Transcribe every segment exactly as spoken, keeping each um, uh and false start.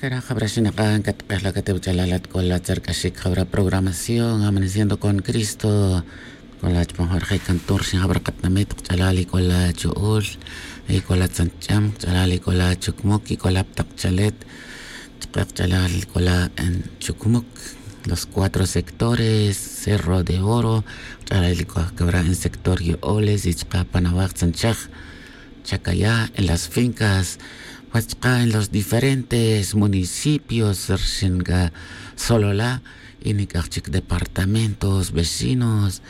Jab'ra xinaq'a' nkataq'ej la kate' wach'alal at k'ola tzerk'axik jab'ra programación amaneciendo con cristo. K'ola chupam jab'ra je' cantón rixin jab'ra qatinamit qach'alal y k'ola chu'ul, y k'ola tzanch'am qach'alal y k'ola chukmuk y k'ola ptaq chalet. Chaq'a qach'alal k'ola en chukmuk, los cuatro sectores, cerro de oro qach'alal y k'ola jab'ra en sector yo'oles y chaq'a pan awaj tzanchaj, chacayá en las fincas, pues chaq'a en los diferentes municipios rixin k'a solola y nik'aj chik departamentos vecinos.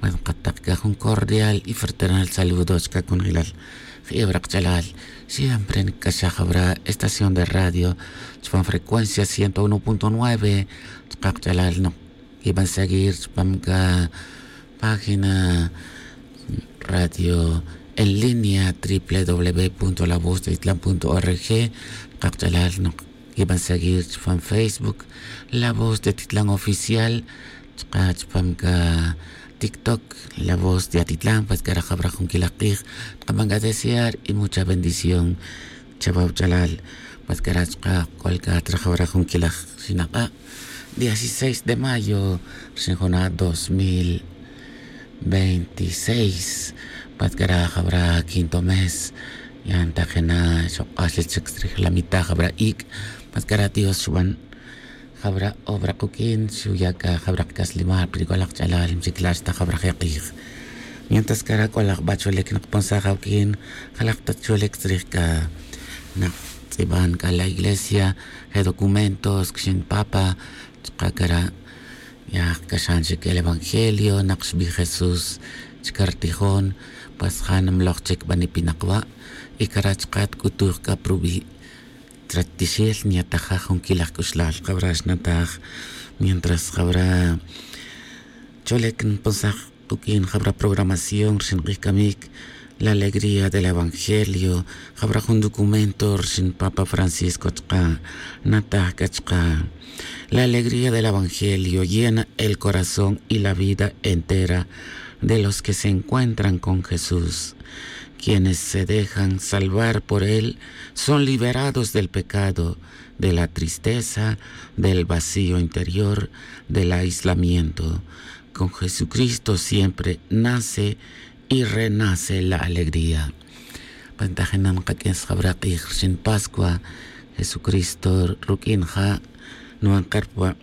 Pues nqataq k'a jun cordial y fraternal saludo chaq'a konojilal. Je'e wara qach'alal siempre nk'axaj jab'ra estación de radio chupam frecuencia ciento uno punto nueve. Chaq'a qach'alal noq kiban seguir chupam k'a página radio en línea triple w punto la voz de titlan punto org. Chaq'a qach'alal noq kiban seguir chupam facebook la voz de titlan oficial. Chaq'a chupam k'a tiktok la voz de atitlan pues k'ara' jab'ra jun kilaj q'ij. Chaq'a ban k'a desear y mucha bendición chawa wach'alal. Pues k'ara' chaq'a k'ol k'a atra jab'ra jun kilaj xinaq'a', dieciséis de mayo rixin juna' dos mil veintiséis. Pues k'ara' jab'ra quinto mes ya ntajina' xoq'axel chik chrij la mitad jab'ra iik'. Pues k'ara' dios xuban jab'ra obra quk'in xuya' k'a jab'ra qak'aslimal pero k'ola qach'alal mchikla' xta jab'ra je' q'ij. Mientras k'ara' k'ola jab'a' cholek nqaponsaj awuk'in jalaj ta cholek chrij k'a naq tz'iban k'a la iglesia je' documentos kixin papa. Chaq'a k'ara' ya jk'axan chik el evangelio naq xbij jesús chik rtijon. Pues ja' nimloj chik b'anip inaq wa' y k'ara' chaq'a tk'utuj k'a pruwi' tratixel nyatajaj jun kilaj k'uxlal jab'ra xnataj. Mientras jab'ra cholek nponsaj quk'in jab'ra programación rixin q'ij kamik la alegría del evangelio. Jab'ra jun documento rixin papa francisco chaq'a nataj k'a chaq'a la alegría del evangelio llena el corazón y la vida entera de los que se encuentran con jesús. Quienes se dejan salvar por él son liberados del pecado, de la tristeza, del vacío interior, del aislamiento. Con jesucristo siempre nace y renace la alegría. Pantajinan qak'in sjab'ra q'ij rixin pascua jesucristo ruk'in ja' nwan qerpwa'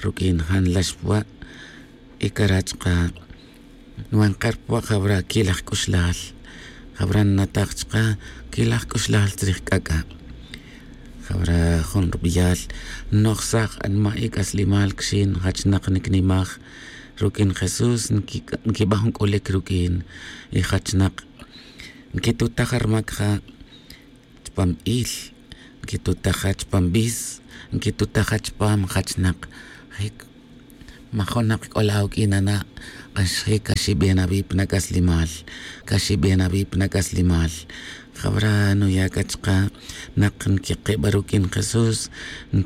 ruk'in ja' nlaxpwa' y k'ara' chaq'a nwan qerpwa' jab'ra kilaj k'uxlal. Jab'ra nnataj chaq'a kilaj k'uxlal chrij k'ak'a' jab'ra jun rub'iyal nnojsaj anma' y k'aslimal kixin jachnaq niknimaj ruk'in jesús nkib'an jun k'ulik ruk'in y jachnaq nkitutaj rmak ja' chupam il nkitutaj ja' chupam bis nkitutaj ja' chupam jachnaq jik majonaq k'ola awuk'in ana' kaxjik kaxib'en awi' pa nak'aslimal kaxib'en awi' pa nak'aslimal. Jab'ra nuya' k'a chaq'a naq nkikib'a ruk'in jesús